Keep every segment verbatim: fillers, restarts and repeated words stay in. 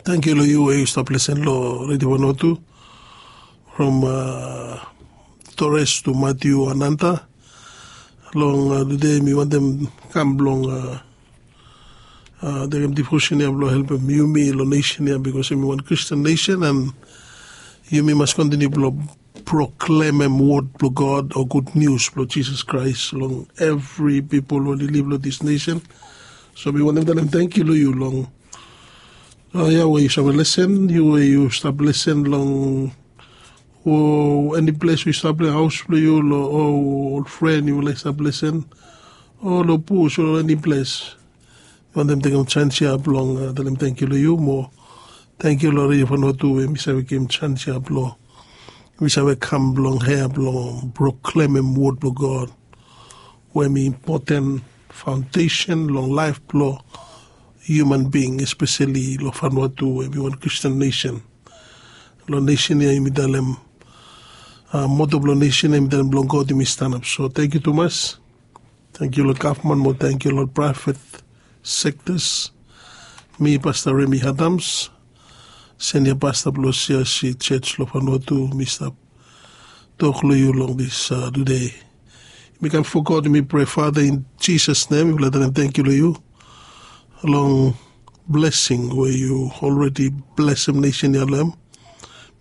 Tangkiu long yu we yu stap lesen long redio Vanuatu from Torres tu Matiu Ananta. Long tude mi wantem kam blong tekem devotion ya blong helpem yumi long nesen ya, bikos yumi wan Christian nesen, and yumi mas kontiniu blong proklemem wod blong God o gud nius blong Jisas Kraes long evri pipol we oli liv long dis nesen. So mi wantem talem tangkiu long yu long ya we yu save lesen, yu we yu stap lesen long o eni ples we yu stap long haos blong yu, long o ol fren yu laik stap lesen, o long bus o long eni ples. Mi wantem tekem sans ya blong talem tangkiu long yu mo tangkiu long redio Vanuatu we mi save givim sans ya blong mi save kam blong hia blong proklemem wod blong God we hem i impoten faondesen long laef blong hiuman bing, espeseli long Vanuatu we hem i wan Kristen nesen. Long nesen ya yumi talem moto blong nesen ya yumi talem blong God yumi stanap. So tangkiu tumas. Tangkiu long gavman mo tangkiu long praevet sektas. Mi Pasta Remi Adams, senia pasta blong CRC Jos long Vanuatu, mi stap tok long yu long dis tude. Mi kam fo God, mi prea Fata, in Jisas nem mifala talem tangkiu long yu long blesing we yu olredi blesem nesen ya long hem.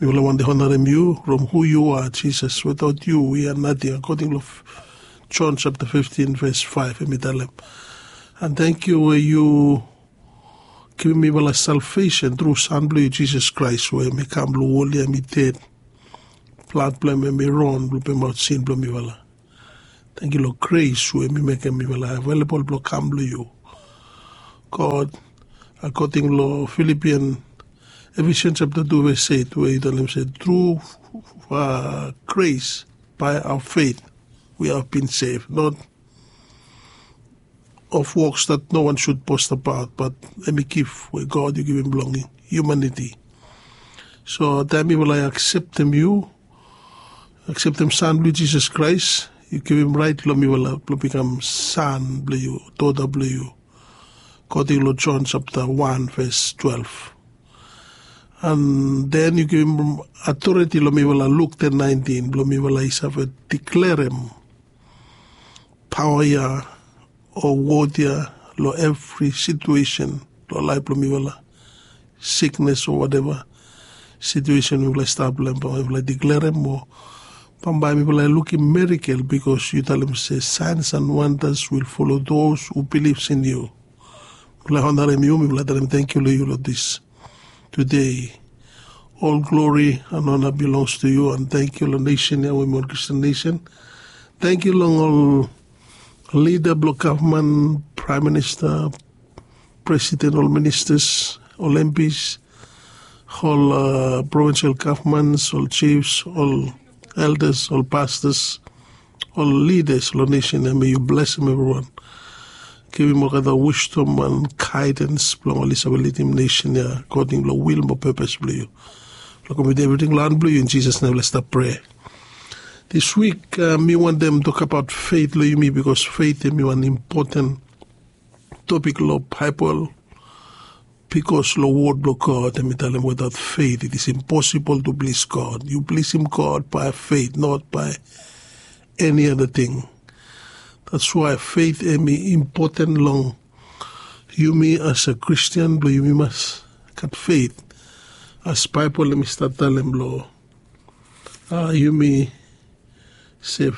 Mifala wantem onarem yu from hu yu a Jisas. Wetaot yu wi a nating, akoding long Jon sapta fiftin ves faef hem i talem. And tangkiu we yu givim mifala salvesen tru San blong yu Jisas Kraes we hem i kam long wol ya, hem i ded, blad blong hem hem i ron blong pemaot sin blong mifala. Tangkiu long gres we hem i mekem mifala avelabol blong kam long yu God. Akoding long Filipian, Efesian sapta tu ves eit we i talem se tru gres by our faith we have been saved, not of works that no one should boast about, but hem i gif we God yu givim blong hiumaniti. So taem mifala i akseptem yu, akseptem San blong yu Jisas Kraes, yu givim raet long mifala blong bikam san blong yu, dota blong yu, akoding long Jon sapta wan ves twelef. And then yu givim atoriti long mifala, Luk ten naentin, blong mifala i save diklerem paoa ya o wod ya long evri situesen long laef blong mifala, siknes o wateva situesen mifala i stap long hem, mifala i diklerem mo bambae mifala i lukim merikel, bikos yu talem se signs and wonders will follow those who believes in you. Mifala i onarem yu, mifala i talem tangkiu long yu long dis tude. Ol glori and ona bilongs to yu, and tangkiu long nesen ya we hem i wan Kristen nesen. Tangkiu long ol lida blong gavman, praem minista, presiden, ol ministas, ol MPs, ol provinsel gavmans, ol jifs, ol eldas, ol pastas, ol lidas long nesen ya. Me yu blesem evriwan, givim olgeta wisdom and gaedans blong oli save lidim nesen ya akoding long wil mo pepes blong yu. Long komitim evriting long han blong yu, in Jisas nem mifala stap prea. Dis wik mi wantem tokabaot feit long yumi, bikos feit hem i wan impoten topik long Baebol. Bikos long wod blong God hem i talem, wetaot feit it is imposibol tu plis God. Yu plisim God bae feit, not bae eni ada ting. That's why feit hem i impoten long yumi as a Kristen, blong yumi mas gat feit. As Baebol hem i stat talem long yumi se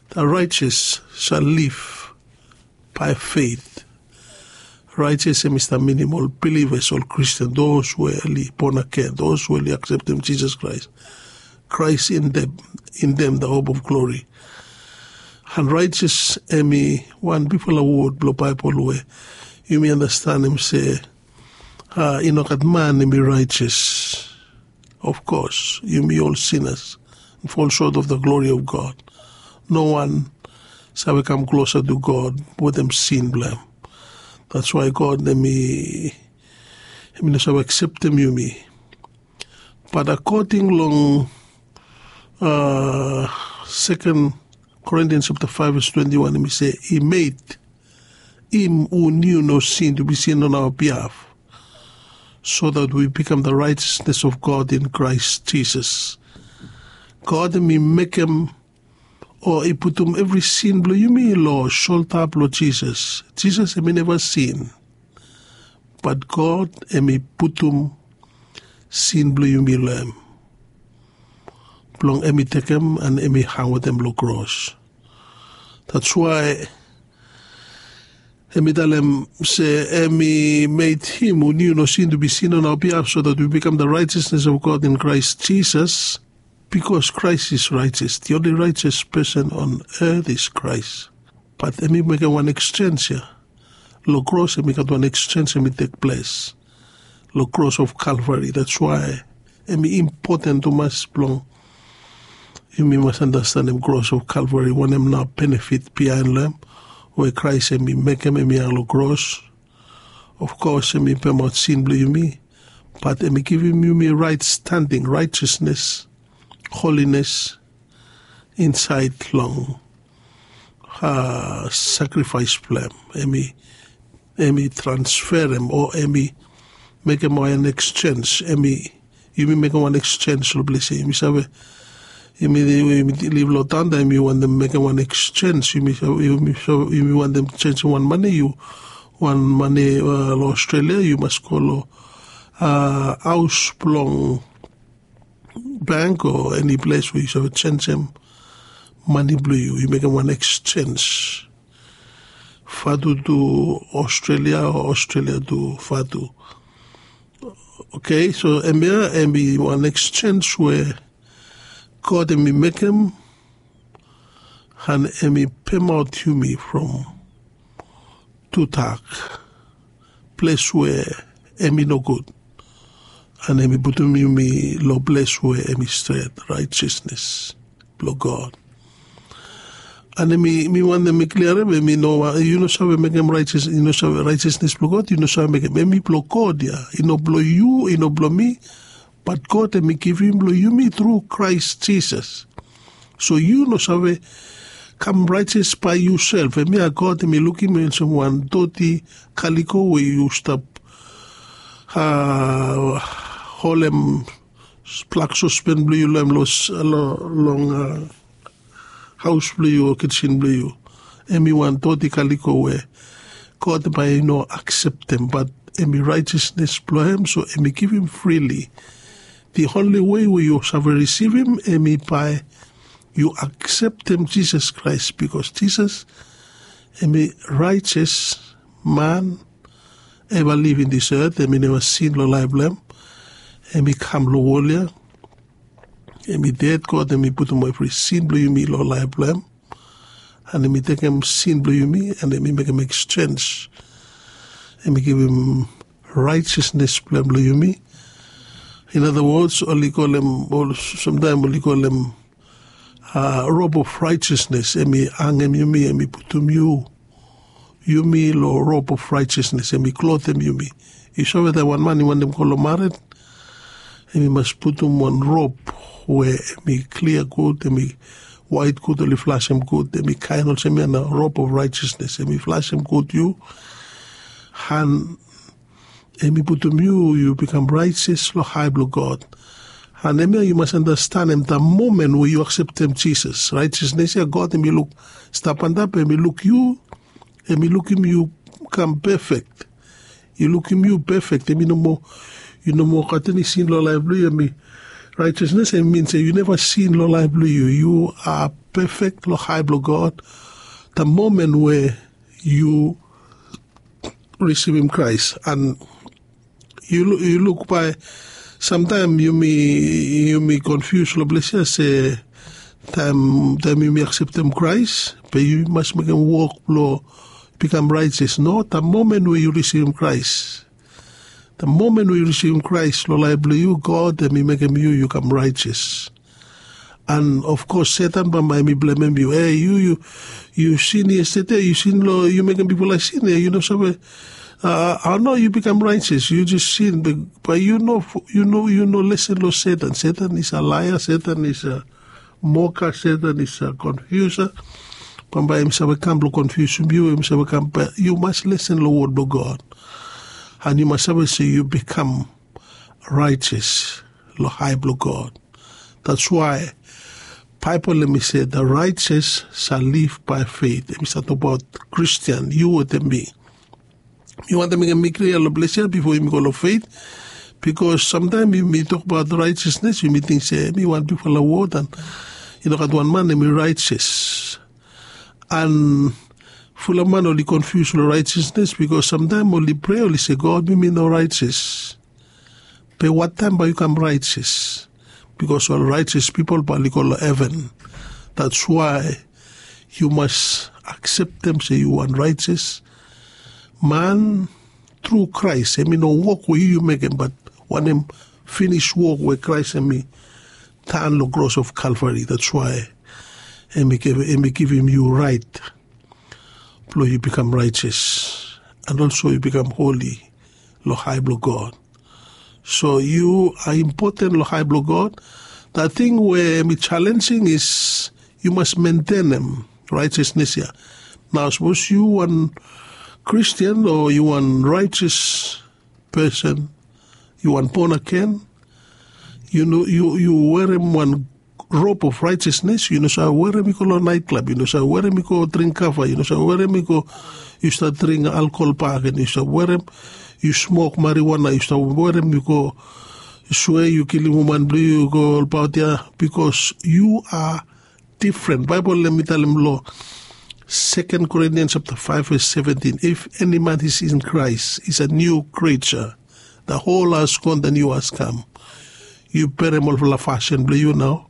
the righteous shall live by faith. Righteous hem i stap minim ol bilivas, ol Kristen, those we oli born again, those we oli akseptem Jisas Kraes. Christ in them, in them the hope of glory. And righteous hem i wan bigfala wod blong Baebol we yumi anastanem se i no gat man hem i righteous. Of course yumi ol sinas and fall short of the glory of God. No wan save kam klosa tu God wetem sin blong hem. That's why God hem i no save akseptem yumi. Bat akoding long Second Corinthians chapter five verse twenty-one, hem i se, he made him who knew no sin to be sin on our behalf, so that we become the righteousness of God in Christ Jesus. God em i mekem o i putum evri sin blong yumi long solta blong Jisas. Jisas em i neva sin, bat God em i putum sin blong yumi long em blong em i tekem an em i hang wetem long kros. That's why em i talem se em i made him who knew no sin to be sin on our behalf so that we become the righteousness of God in Christ Jesus. Because Christ is righteous, the only righteous person on earth is Christ. Bat em i mekem wan exchange ya. Long kros em i gat wan exchange em i tek ples long kros of Calvary. That's why em i impoten tumas blong yumi mas anastanem kros of Calvary, wanem nao benefit bihain long em we Krais em i mekem em i hang long kros. Of kos em i pemaot sin blong yumi, bat em i givim yumi right standing, righteousness, holiness insaed long sakrifaes blong em. Em i transferem o em i mekem wan exchange. Em i yumi mekem wan exchange long ples ya. Yumi save, yumi liv long taon taem yu wantem mekem wan exchange, yumi wantem chensem wan mane, yu wan mane long Australia, yu mas go long haos blong bank o eni ples we yu save chensem mane blong yu, yu mekem wan exchange. Vatu tu Australia o Australia tu Vatu. Okay, so hemia hem i wan exchange we God hem i mekem, an hem i pemaot yumi from tudak, ples we hem i nogud, an hem i putum yumi long ples we hem i stret, righteousness blong God. An mi wantem mi kliarim, yu no save mekem righteousness blong God, yu no save mekem. Hem i blong God ya, i no blong yu, i no blong mi, bat God hem i givim long yumi tru Krais Jisas. So yu no save kam righteous by yusef. Hemia God hem i lukim olsem wan doti kaliko we yu stap holem blak sospen blong yu long hem, long haos blong yu o kijen blong yu. Hem i wan doti kaliko we God bae i no akseptem, bat hem i righteousness blong hem, so hem i givim freely. The only way we yu save risivim hem i bae yu akseptem Jisas Krais, bikos Jisas hem i righteous man eva liv in this earth. Hem i neva sin long laef blong hem. Hem i kam long wol ya, hem i ded, God hem i putum evri sin blong yumi long laef blong hem, an hem i tekem sin blong yumi, an hem i mekem exchange. Hem i givim righteousness blong hem long yumi. In other words, oli kolem, samtaem oli kolem robe of righteousness. Hem i hangem yumi, hem i putum yu, yumi long robe of righteousness. Hem i klotem yumi. Yu save taem wan man i wantem go long mared, hem i mas putum wan robe we hem i klia gud, hem i waet gud, oli flasem gud, hem i kaen olsem ya na robe of righteousness. Hem i flasem gud yu, an hem i putum yu, yu bikam righteous long ae blong God. An hemia yu mas anastanem, the moment we yu akseptem Jisas, righteousness ya God hem i luk stap antap, hem i luk yu, hem i lukim yu kam pefek. I lukim yu pefek. Hem i no moa, yu no moa gat eni sin long laef blong yu. Hem i righteousness, hem i min se yu neva sin long laef blong yu. Yu a pefek long ae blong God the moment we yu risivim Krais. An yu luk bae samtaem yumi konfius long ples ya se taem yumi akseptem Krais be yu mas mekem wok blong bikam righteous. No, the moment we yu risivim Krais, the moment we yu risivim Krais long laef blong yu, God hem i mekem yu, yu kam righteous. An of kos Setan bambae hem i blemem yu. E, yu, yu sin yestede, yu sin long, yu mekem bigfala sin, e, yu no save, a, a, no, yu bikam righteous, yu jes sin, bae yu no, yu no, yu no lesen long Setan. Setan is a liar, Setan is a mocker, Setan is a confuser. Bambae hem save kam blong konfiusim yu, hem save kam, bae yu mas lesen long wod blong God. An yu mas save se yu bikam raetes long hae blong God. That's why Baebol em i se, the righteous shall live by faith. Em i save tokbaot Kristian, yu wetem mi. Mi wantem mekem mi klia long ples ya bifo yumi go long faith. Bikos samtaem yumi tokbaot righteousness, yumi ting se em i wan bigfala wod, an i no gat wan man em i righteous. An fulap man oli konfius long righteousness, bikos samtaem oli prea, oli se, God, mi mi no righteous. Be wattaem bae yu kam righteous? Bikos ol righteous pipol bae oli go long heven. That's why yu mas akseptem se yu wan righteous man tru Kraes. Em i no wok we yu yu mekem, bat wanem finis wok we Kraes em i tan long kros of Kalvari. That's why em i givim yu raet blong yu bikam righteous, an olso yu bikam holi long hae blong God. So yu are impoten long hae blong God. The ting we em i challenging is yu mas mentenem righteousness ya. Nao sapos yu wan Kristian o yu wan righteous person, yu wan born again, yu no, yu, yu werem wan robe of righteousness. Yu no save werem i go long nightclub, yu no save werem i go dring kava, yu no save werem i go, yu stap dring alkohol bak, an yu save werem, yu smok marijuana, yu save werem i go swea yu kilim woman blong yu, yu go olbaot ya, bikos yu are different. Baebol em i talem long Second Corinthians chapter five verse seventeen. If any man is in Christ, is a new creature. The old has gone, the new has come. Yu berem olfala fasin blong yu nao,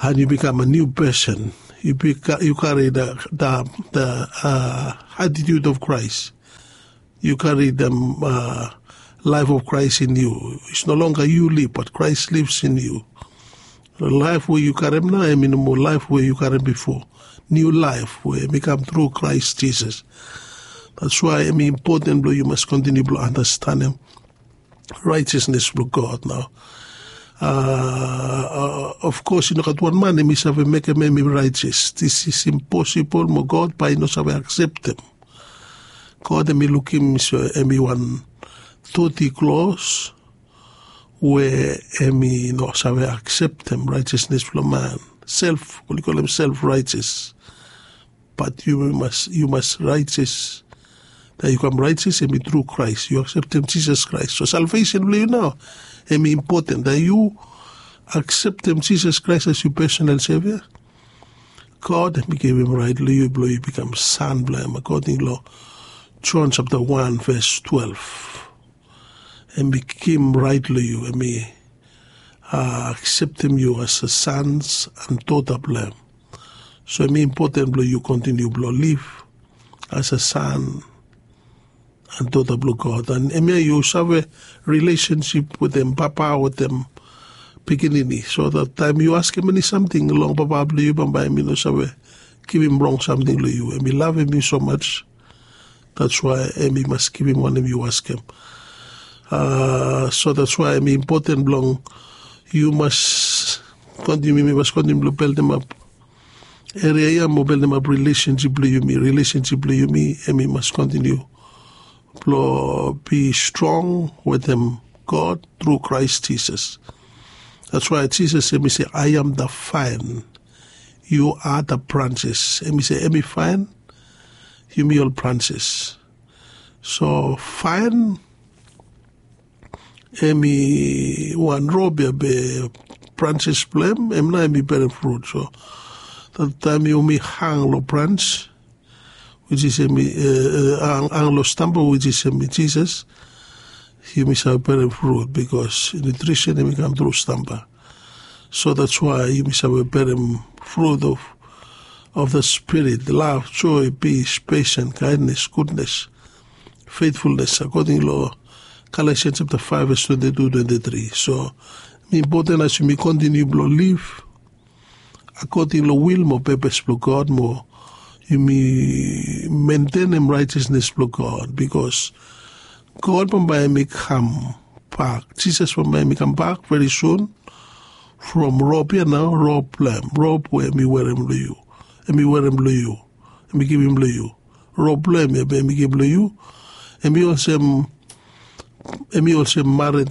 an yu bikam a new person. Yu bika-, yu kari the, the, the, uh, attitude of Christ. Yu kari the, uh, life of Christ in you. It's no longer you live, but Christ lives in you. Laef we yu karem nao em i no moa laef we yu karem bifo. Niu laef we em i kam tru Kraes Jisas. That's why em i impoten blong yu mas kontiniu blong andastanem raejasnes blong God nao. Of kos i no gat wan man em i save mekem em i raejas. This is impossible mo God bae i no save akseptem. God em i lukim so em i wan doti klos we em i no save akseptem raejasnes blong man. Self, oli kolem self raejas. Bat yu mas, yu mas raejas. Taem yu kam raejas em i tru Kraes. Yu akseptem Jisas Kraes. So salvesen blong yu nao em i impoten. Taem yu akseptem Jisas Kraes as yu pesonal sevia, God em i givim raet long yu blong yu bikam san blong em, akoding long Jon sapta wan ves twelef. Em i givim raet long yu, em i akseptem yu as a sons and dota blong em. So em i impoten blong yu kontiniu blong liv as a son and dota blong God. And em ya yu save rilesensip wetem papa wetem pikinini, so that taem yu askem eni samting long papa blong yu, bambae em i no save givim rong samting long yu. Em i lavem yu so much. That's why em i mas givim wanem yu askem. So that's why em i impoten blong yu mas kontiniu, mi mas kontiniu blong beldemap eria ya mo beldemap rilesensip blong yumi. Rilesensip blong yumi em i mas kontiniu blong bi strong wetem God tru Kraes Jisas. That's why Jisas em i se, I am the vine, you are the branches. Em i se em i vine, yumi ol branches. So vine em i wan rop ya, be branches blong em, em nao em i berem frut. So taem yumi hang long brans, which is em i, hang long stamba, which is em i Jisas, yumi save berem frut, bikos nutrisen em i kam tru stamba. So that's why yumi save berem frut of, of the Spirit, lav, joe, pis, pesen, kaendnes, gudnes, fetfulnes, akoding long Galatians sapta faef ves twenti tu, twenti tri. So em i impoten as yumi kontiniu blong liv akoding long wil mo pepes blong God mo yumi mentenem raejasnes blong God, bikos God bambae em i kambak, Jisas bambae em i kambak veri sun from rop ya nao, rop blong em, rop we em i werem long yu, em i werem long yu, em i givim long yu. Rop blong em ya be em i givim long yu, em i olsem Hemi olsem mared,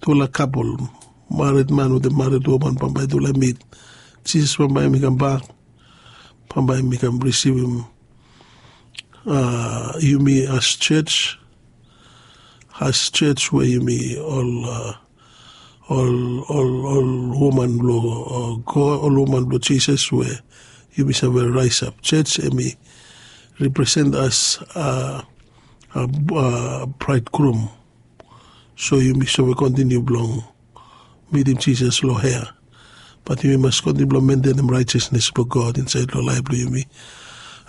tufala kapol, mared man wetem mared woman bambae tufala i mit. Jisas bambae hemi kambak, bambae hemi kam risivim yumi as church, as church we yumi ol ol ol ol woman blong God, ol woman blong Jisas we yumi save raisap. Church hemi represent as a bridegroom. So yumi save kontiniu blong mitim Jisas long hea. Bat yumi mas kontiniu blong mentenem raejasnes blong God insaed long laef blong yumi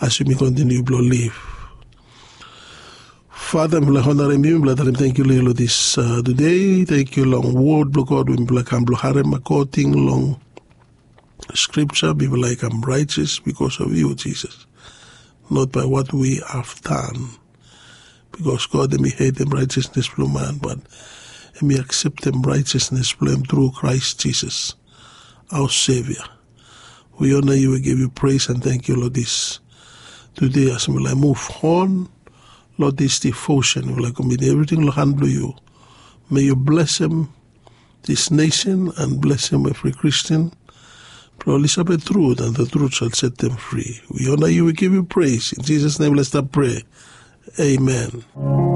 as yumi kontiniu blong liv. Fata, mifala honarim yu, mifala talem tangkiu long yu long dis tude. Tangkiu long wod blong God we mifala kam blong harem akoding long skripja. Mifala i kam raejas bikos of yu, Jisas, not by what we have done. Bikos God hemi hetem raejasnes blong man, bat hemi akseptem raejasnes blong hem tru Kraes Jisas, aoa Sevia. Wi ona yu, wi givim yu pres and tangkiu long dis tude. As mifala i muv on long dis devotion, mifala i komitim evriting long han blong yu. May yu blesem dis nesen and blesem evri Kristin blong oli save trut, and the truth shall set them free. Wi ona yu, wi givim yu pres. In Jisas nem mifala stap prea. Amen.